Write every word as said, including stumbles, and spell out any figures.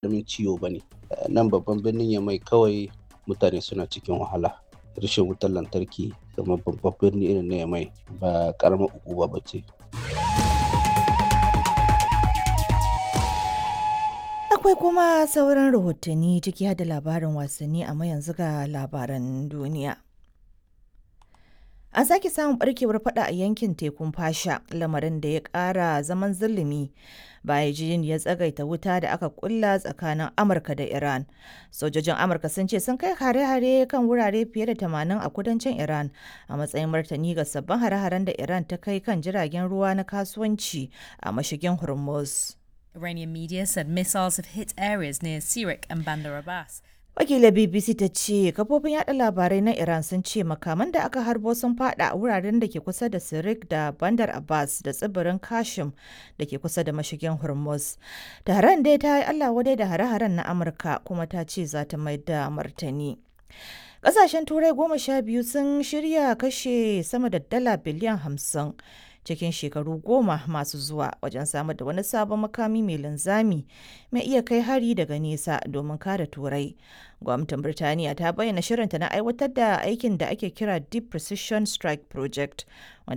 Ƙaramin ciwo ba ne. Nan babban birnin Yamai kawai mutane suna cikin wahala. Rashin wutar lantarki kamar babban birni irin na Yamai ba ƙaramar ukuba ba ce. Akwai kuma sauran rahotanni ciki har da labarin wasanni, amma yanzu ga labaran duniya. An sake samun barkewar fada a yankin tekun Fasha, lamarin da ya ƙara zaman zulumi bayan yarjejeniyar tsagaita wuta da aka kulla tsakanin Amurka da Iran. Sojojin Amurka sun ce sun kai hare-hare kan wurare fiye da tamanin a kudancin Iran a matsayin martani ga sabbin hare-haren da Iran ta kai kan jiragen ruwa na kasuwanci a mashigin Hormuz. Iranian media said missiles have hit areas near Sirik and Bandar Abbas. Wakilar B B C ta ce kafofin yada labarai na Iran sun ce makaman da aka harbo sun fada a wuraren da ke kusa da Sirik da Bandar Abbas da tsibirin Kashim da ke kusa da mashigin Hormuz. Tehran dai ta yi Allah wadai da hare-haren na Amurka kuma ta ce za ta mai da martani. Ƙasashen Turai goma sha biyu sun shirya kashe sama da dala biliyan hamsin cikin shekaru goma masu zuwa wajen samar da wani sabon makami mai linzami mai iya kai hari daga nesa domin kare Turai. Gwamnatin Birtaniya ta bayyana shirinta na aiwatar da aikin da ake kira Deep Precision Strike Project, wanda